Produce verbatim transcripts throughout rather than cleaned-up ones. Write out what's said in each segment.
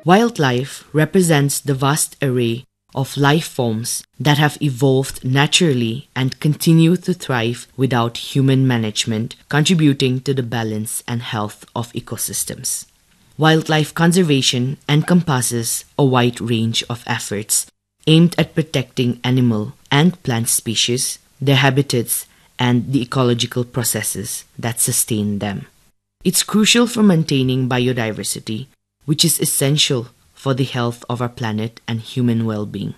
Wildlife represents the vast array of life forms that have evolved naturally and continue to thrive without human management, contributing to the balance and health of ecosystems. Wildlife conservation encompasses a wide range of efforts aimed at protecting animal and plant species, their habitats, and the ecological processes that sustain them. It's crucial for maintaining biodiversity, which is essential for the health of our planet and human well being.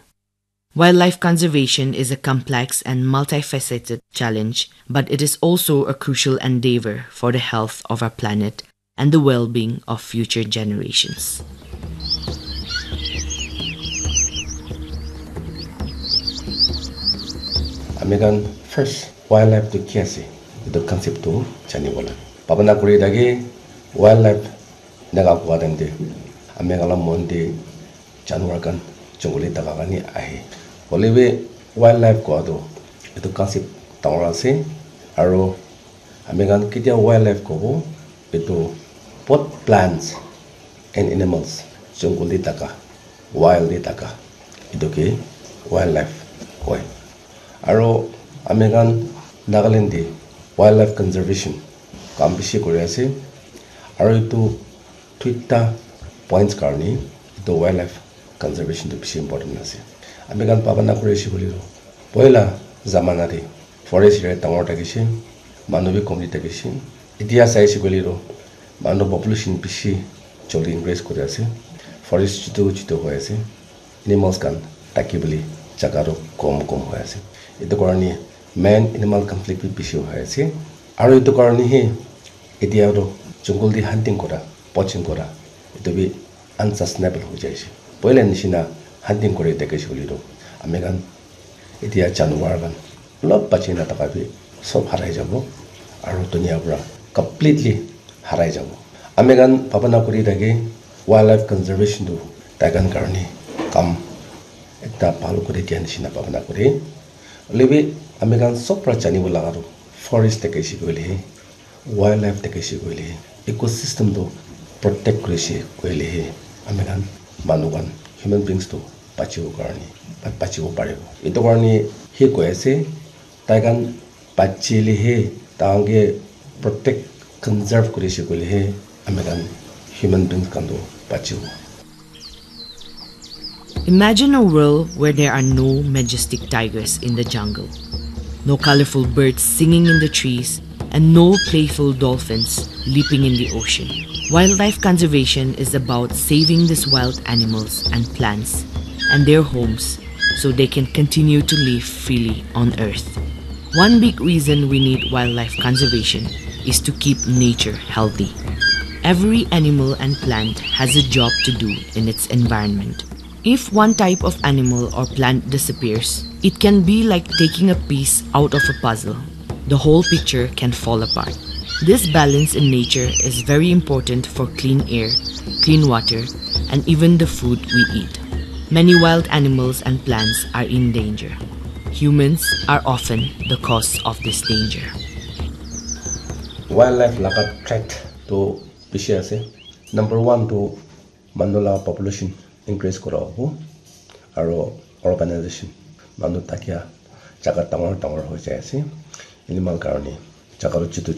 Wildlife conservation is a complex and multifaceted challenge, but it is also a crucial endeavor for the health of our planet and the well being of future generations. Ami khan first wildlife tu ki ase, etu concept tu janibo lage. Bhabana kuri thaki wildlife eneka koa time te ami khan la mon te janwar khan jungle te thaka khan he ahe. Hoile bi wildlife koa tu etu concept dangor ase, aro ami khan ketia wildlife kobo, etu both plants and animals jungle te thaka, wild te thaka, etu ke wildlife koi. Aro ami khan Nagaland te wildlife conservation kam bishi kuri ase, aro etu duita points karne etu wildlife conservation tu bishi important ase. Ami khan bhabana kuri ase koile tu, poila zamana te forest area dangor thakishe, manu bi komi thakishe. Etia sai ase koile tu, manu population bishi joldi increase kuri ase, forest chutu chutu hoi ase, animals khan thaki bole jaga tu kom kom hoi ase. Etu karne man animal conflict bi bishi hoi ase, aro etu karne he etia tu jungle te hunting kura, poaching kura, etu bi unsustainable hoi jai ase. Poila nishina hunting kuri thakishe koile tu, ami khan etia janwar khan olop bachi na thaka bi sob harai jabo, aro dunia pura completely harai jabo. Ami khan bhabana kuri thaki wildlife conservation tu tai khan karne kam ekta bhal kuri dia nishina bhabana kuri. Hoile bi ami khan sob pora janibo laga tu forest thakishe koile he, wildlife thakishe koile he, ecosystem tu protect kurishe koile he, ami khan manu khan, human beings tu bachibo karne, bachibo paribo. Etu karne he koi ase, tai khan bachile he, tai khan ke protect, conserve kurishe koile he, ami khan human beings khan tu bachibo. Imagine a world where there are no majestic tigers in the jungle, no colorful birds singing in the trees, and no playful dolphins leaping in the ocean. Wildlife conservation is about saving these wild animals and plants and their homes so they can continue to live freely on Earth. One big reason we need wildlife conservation is to keep nature healthy. Every animal and plant has a job to do in its environment. If one type of animal or plant disappears, it can be like taking a piece out of a puzzle. The whole picture can fall apart. This balance in nature is very important for clean air, clean water, and even the food we eat. Many wild animals and plants are in danger. Humans are often the cause of this danger. Wildlife laga threat tu bishi ase. Number one tu manu laga population increase kura hobo, aro urbanization, manu thakia jaga dangor dangor hoi jai ase, animal karne jaga tu chutu